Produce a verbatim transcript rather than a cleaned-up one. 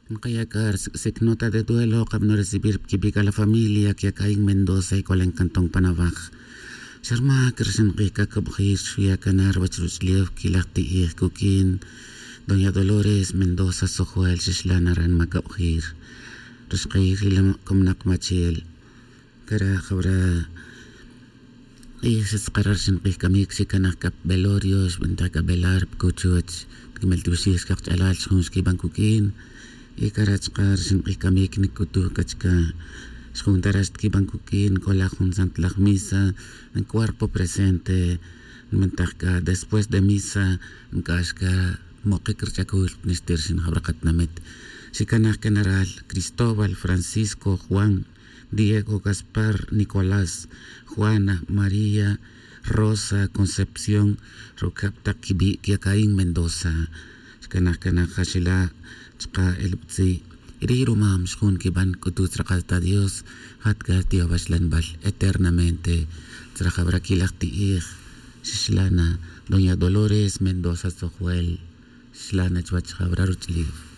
Nkaya' c'a ri sic' nota de duelo kabano recibir pa quibi' c'a la familia que ya caín mendoza y c'olen cantón panabaj. Xa rma c'a ri xank'ij c'a cobjir xu' ya cana ruwech ruch'ulef quilaj ti'ij cuquin. Doña dolores mendoza sojuel xixla' na ran ma cobjir. Ri xk'ij ri la comnak machel cara' jawra' q'ij xatzakara' ri xank'ij c'amic xicanaj c'a pa belorio xbentej c'a belar pa cuchuch. Quimeltioxij xcakch'alal xjun xquiban cuq'uin. Y cara' chaka' ri xank'ij c'amic nic'utuj c'a chica xjun ta ra xtiquiban cuq'uin c'ola jun santlaj misa. Cuerpo presente nbentej c'a después de misa nc'ax c'a mokic ri ch'acul pa nixtir xin jawra katinamit. Xicanaj c'a na ral cristóbal francisco juan diego gaspar nicolás juana maría rosa concepción rucab tak quibi' que ya caín mendoza. Xcanaj c'a na jaxila' chaka' elubtzi' ri rumam xjun quiban c'utu tzrakal ta dios. Jat c'a tiyowaxlanbal eternamente tzrajawra quilaj ti'ij. Xixla' na doña dolores mendoza sojuel. Xixla' na chuwech jawra ruch'ulef.